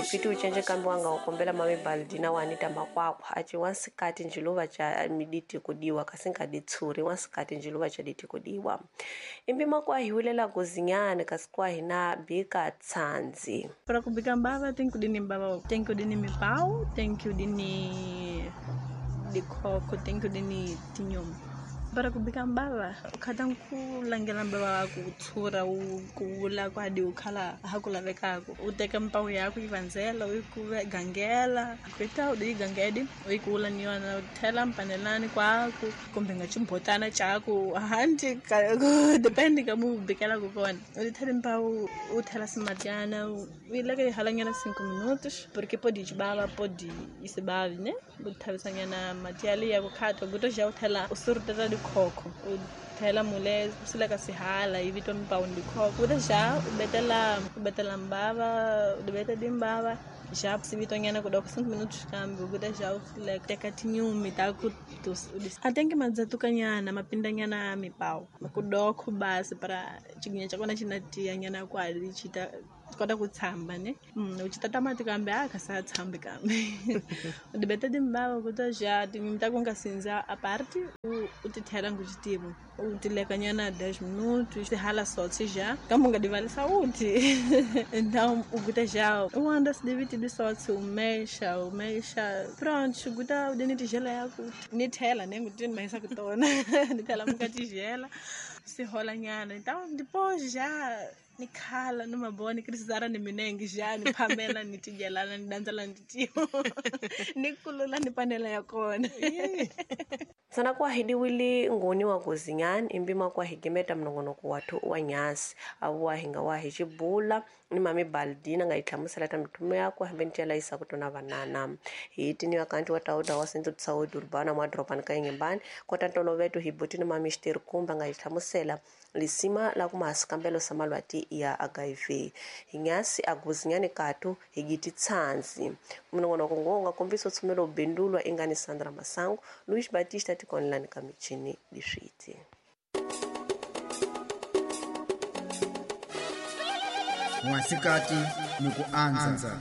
Fiti ucenje kambi wanga ukombela mami Baldina wa Anita Makwakwa aci wansikati njiluva ca miditi kudiwa kasi nkaditshuri wansikati njiluva ca diti kudiwa imbi makwa hiulela kuzinyane kasi kwa hina bika tsanzi. Para kubika mbava tem kudini mbava, tem kudini mipau, tem kudini dikhokho, tem kudini tinyuma. Para kubika mbava ukhata kulangela mbava waku utshura wu kula kwadi ukhala ha ku lavekaka u teka mpawu yaku yi vandzela u yi gangela kuita u yi gangedi u yi kula ni yona u thela mpanelani kwaku kumbe nga ximbotana xaku hanti depende ka mu bikelaka kona u ti thela mpawu u thela swimatyana u yi leka yi halanyana 5 minutos porque pode bava pode yi se bavi ne u thavisanyana mati yaliya ku khata kuto xa u thela u surutela dikhokho u thela mule u sileka sihala yi vitwa mipawu dikhokho u ta xa u betela mbava u beta dimbava já se vitonyana ku doko 5 minutos kambe u ta xa u sileka teka tinyumi ta ku a tenke madzatukanyana mapindanyana mipawu ku doko basi para chiginya cha kona xi tiyanyana kwali xi ta kota ku tshamba ne u ci tata mati kambe a kha sa tshambi kambe u dibeta timbava ku ta xa tinyumi ta ku nga sindza aparte u ti thela nguxitivo u ti lekanyana 10 minutos ti hala sotsi já kambe u nga divalisa uti então u kuta já u anda se diviti di sotsi u mexa pronto kuta u dini tijela ya ku ni thela ne nguti ni mahisa ku tona ni thela muka tijela se holanyana então depois já ni khala ni maboni krisara ni minengi já ni phamela ni tidyelana ni dandzela ni titiyo ni kulula ni panela ya kona. Sana kwahidiwili ngoni wa kuzinyani imbima kwahigemeta mnongonoko wathu wa nyasi awu wahinga wahi xibula ni mami Baldina nga yi hlamusela ta mithumo yakwe hambi ni cela yisa ku tona vanana hi tiniwa kanti wa tauda wa Centro de Saúde Urbana mwa doropani ka Inhambane kota ntoloveto hi buti ni mami Xitirikumba nga yi hlamusela lisima la ku mahasikambelo sa malwati ya HIV hi nyasi aguzinyani katu hi giti tsanzi mnongonoko ngo nga kombisa tshumelo bindulwa ingani Sandra Masango Luis Batista tikonlani ka michini liswiti. Mwasikati ni ku anza.